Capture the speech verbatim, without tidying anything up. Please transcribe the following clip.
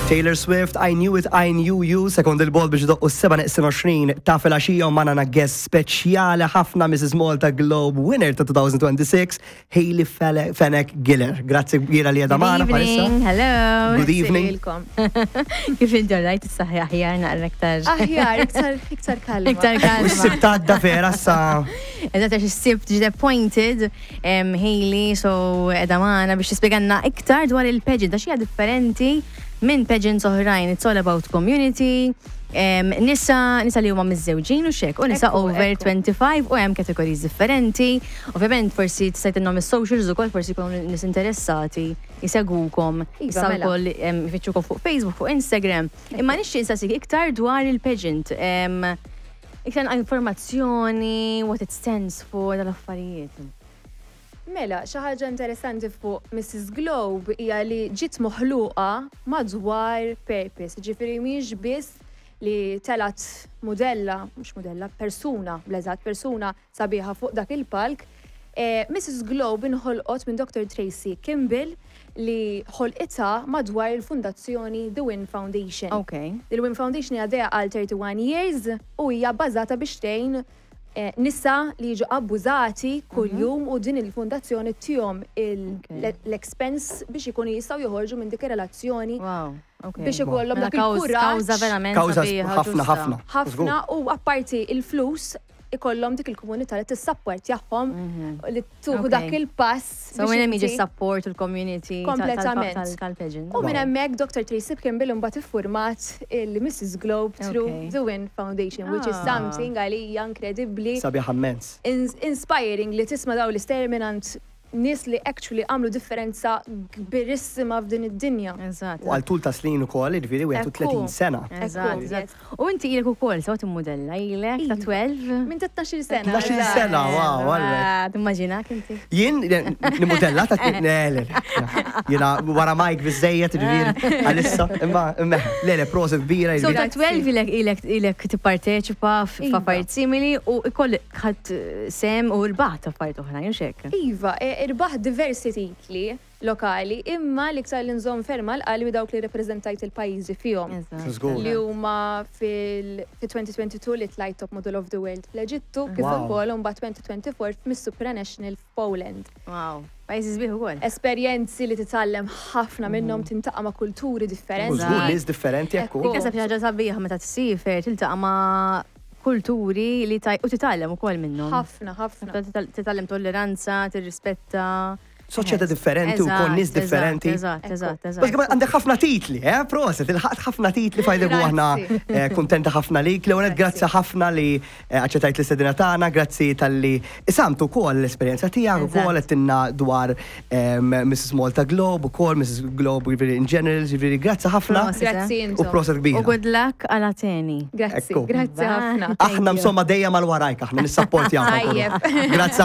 Taylor Swift, "I Knew It, I Knew You", sekond il-bol biex doqqu s-seba neqsin għoxrin ta' filgħaxija u magħna guest speċjali ħafna, Missus Malta Globe winner ta' elfejn u sitta u għoxrin, Hayley Fele- Fenech Giller. Grazzi kbira li qiegħda magħna Good bħalissa. evening, hello. Good evening. Lilkom. Kif inti, rajt is-saħħa aħjar naqra iktar? Aħjar, iktar, iktar kalma. Iktar U kalma. s-Sibt għadda vera sa. Eżatt, għax is-Sibt ġiet appointed um, Hayley, so qiegħda magħna biex tispjegalna iktar dwar il-pageant, għax hija differenti minn pageants oħrajn. It's all about community, um, nisa, nisa li huma miżżewġin u xek, u nisa Ekku, over ekku. twenty-five u hemm categories differenti. Ovvjament forsi tista' tgħidilhom is-socials ukoll, forsi jkunu nies interessati jisegwukom, Iva, jistgħu mela. wkoll em, jfittxukom fuq Facebook, fuq Instagram. Imma nixtieq insaqsik iktar dwar il-pageant. Em, Iktar informazzjoni, what it stands for, dal-affarijiet. Mela, xi ħaġa interessanti fuq Missus Globe hija li ġiet moħluqa madwar purpose. Ġifieri mhix biss li telgħet modella, mhux modella, persuna, bleżat persuna sabiħa fuq dak il-palk. Eh, Missus Globe inħolqot minn Doctor Tracy Kimball li ħolqitha madwar il-fundazzjoni The Win Foundation. Ok. Il-Win Foundation għaddejja għal thirty-one years u hija bbażata biex tgħin eh, nisa li jiġu abbużati kuljum u din il-fundazzjoni ttihom il- Ok. l-expense biex ikunu jistgħu joħorġu minn dik ir-relazzjoni Wow. Ok. biex ikollhom Mela dak il-kuraġġ. Kawża verament Kawża sabiħa, ħafna ġusta. ħafna. Ħafna u apparti il-flus ikollhom dik il-komunità li tissapportjahom li tieħu Ok. dak il-pass So biex minn hemm jiġi inti- support u l-community ta- tal- Kompletament. tal- tal-pageant. U minn Wow. hemmhekk Doctor Tracy Kimball imbagħad iffurmat il-Missus Globe through Okay. the Win Foundation, which is Ah. something għalija inkredibbli, Sabiħ immens. ins- inspiring li tisma' daw l-istejjer mingħand nies li actually għamlu differenza kbirissima f'din id-dinja. Eżatt. U għal tul ta' snin ukoll, jiġifieri wieħed u tletin Ekku. sena. Eżatt, Ekku, eżatt. yes. U inti ilek ukoll, sewa timmodella, ilek ta' Iva. tnax? Minn ta' tnax-il sena. tnax-il eżatt. sena, wow, għalek. Timmaġinak inti? Jien nimodella ta' le, le, le. Jiena wara Mike biżejjed, ġifieri għalissa, imma imma le le proset kbira. So Jiġifieri. ta' tnax ilek ilek ilek tipparteċipa Iva. f'affarijiet simili u ikoll ħadd sehem u rbaħt affarijiet oħrajn, u xek. Iva, e- irbaħ diversi titli lokali, imma l-iktar li nżomm ferm għal qalbi dawk li reprezentajt il-pajjiżi fihom. Żgur. Li huma fil-elfejn u tnejn u għoxrin li tlajt Top Model of the World fl-Eġittu, kif Wow. ukoll mbagħad elfejn u erbgħa u għoxrin f'Miss Supranational f'Poland. Wow. Pajjiżi sbieħ ukoll. Esperjenzi li titgħallem ħafna minnhom, tiltaqa' ma' kulturi U differenti. żgur nies differenti ekku. Ekku. Naħseb xi ħaġa sabiħa meta tsiefer tiltaqa' ma' kulturi li taj u titgħallem ukoll minnhom. Ħafna, ħafna. Titgħallem tolleranza, tirrispetta. Soċjetà differenti u kon nies Eżatt, differenti. Eżatt, eżatt, Bas eżatt. għandek ħafna titli, eh? Proset, ilħaqt ħafna titli f'idek u aħna Grazzi. eh, kuntenta ħafna lik. L-ewwel grazzi ħafna li eh, aċċettajt l-istedina tagħna, grazzi talli qsamt ukoll l-esperjenza tiegħek ukoll għedtilna dwar em, Missus Malta Globe ukoll Missus Globe jiġifieri in general, jiġifieri grazzi ħafna Proset. Grazzi u intom. proset U kbira. good luck għal Ateni. Grazzi, Ekku. grazzi Bye. ħafna. Aħna insomma dejjem mal warajk, aħna nissapportjaw. Tajjeb. Grazzi.